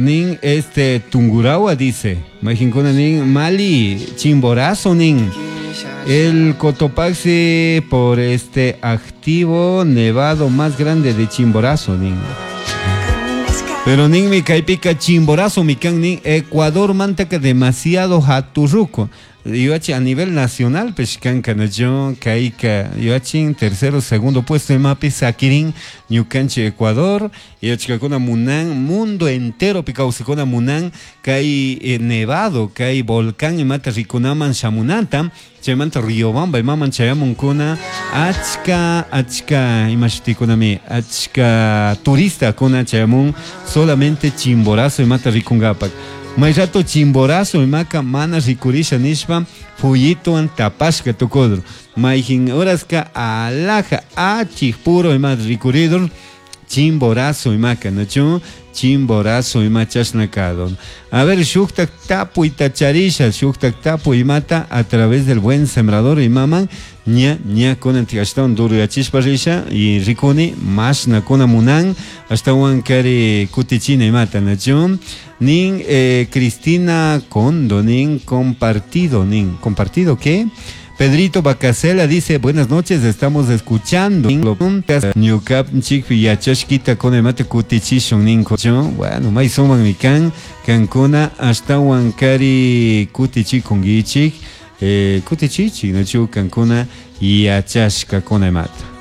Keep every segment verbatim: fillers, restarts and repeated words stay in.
Nin este Tungurahua dice. Mayqinkuna nin Mali Chimborazo nin. El Cotopaxi por este activo nevado más grande de Chimborazo nin. Pero ninmi kaypika Chimborazo mi kan nin Ecuador mantaka demasiado haturruco. Yuachi a nivel nacional kanka nacho kayka yuachin tercero segundo puesto imapi sakirin ñukanchik Ecuador yachkakuna munan mundo entero kawsakuna munan kay eh, nevado kay volcán imata rikunaman shamunanta chaymanta Riobamba imaman chayamunkuna achka achka imashutikunami achka turistakuna chayamun solamente Chimborazo imata rikungapak. May rato Chimborazo imaka mana rikurisha nishpa fuyituwan tapashka tukudur. Mayjin horaska alaja achik puro ima rikuridur Chimborazo imaka, ¿no? Chimborazo ima chashna kadon. A ver, shuktak tapuyta charisha, shuktak tapuy imata a través del Buen Sembrador imaman ña ña kunan ashtawan duruyachishpa risha y rikuni mashna kuna munan ashtawan kari kutichina imata, ¿no? Nin eh, Cristina Kondo, nin compartido, nin compartido, ¿qué? Pedrito Bacasela dice, buenas noches, estamos escuchando. Ñukanchik yachashkita con el mate kutichishun ninko. Bueno, may suman mi kan, kankuna ashtawan kari kutichikunkichik, eh, kutichichik, nachu kankuna yachashka con el mate.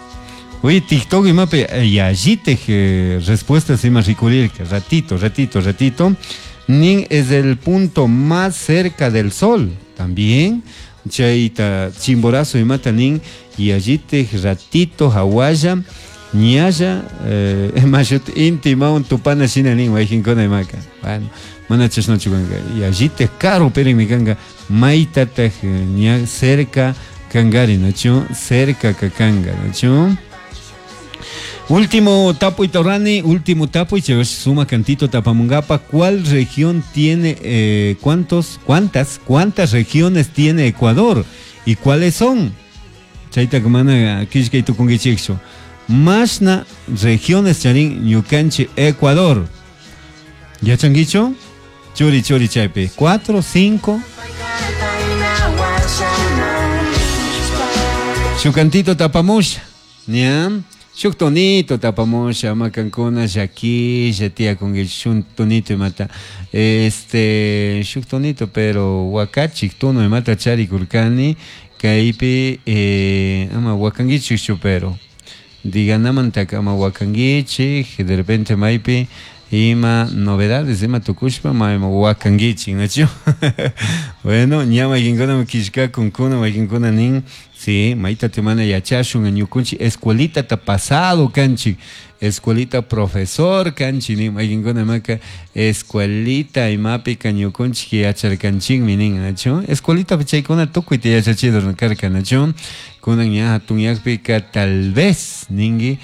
Oye, TikTok imapi yallitaj eh, respuestas ima rikurirka, ratito, ratito, ratito. Nin es el punto más cerca del sol, también. Chayta Chimborazo imata nin yallitaj ratito hawalla ñalla eh, mashut inti imawan tupana shina nin waykinkuna imaka. Bueno, mana chashnachu kanka yallitaj karu pirinmi kanka maytataj ña cerca kankari, nachu cerca kanka, nachu. Último tapuy torani, último tapuy, suma cantito tapamungapa. ¿Cuál región tiene, eh, cuántos, cuántas, cuántas regiones tiene Ecuador? ¿Y cuáles son? Chayta mana kishkay tukunkichikchu. Mashna regiones charin ñukanchik Ecuador. ¿Yachankichu? Churi churi chaypi. Cuatro, cinco. Shuk cantito tapamusha. ¿Ya? Shuk tonito tapamusha, ama kankuna llakilla tiyakunkichik shuk tonito imata. Este, shuk tonito, pero wakachik tono imata charikurkani, kaypi eh, ama wakankichikchu pero diganamantaka ama wakankichik, de repente maypi ima novedades ima tukushpa ma ima wakankichik, nachu? Bueno, ña mayqinkuna killkakunkuna mayqinkuna nin, sí, mayta mana yachashun ñukunchik escuelita ta pasado kanchik, escuelita profesor kanchik nin mayqinkuna imaka escuelita imapika ñukunchik yacharkanchikmi nin, nachu? Escuelita chaykuna tukuyta yachachidur karka, nachu? Kunan ña hatunyakpika tal vez ninki.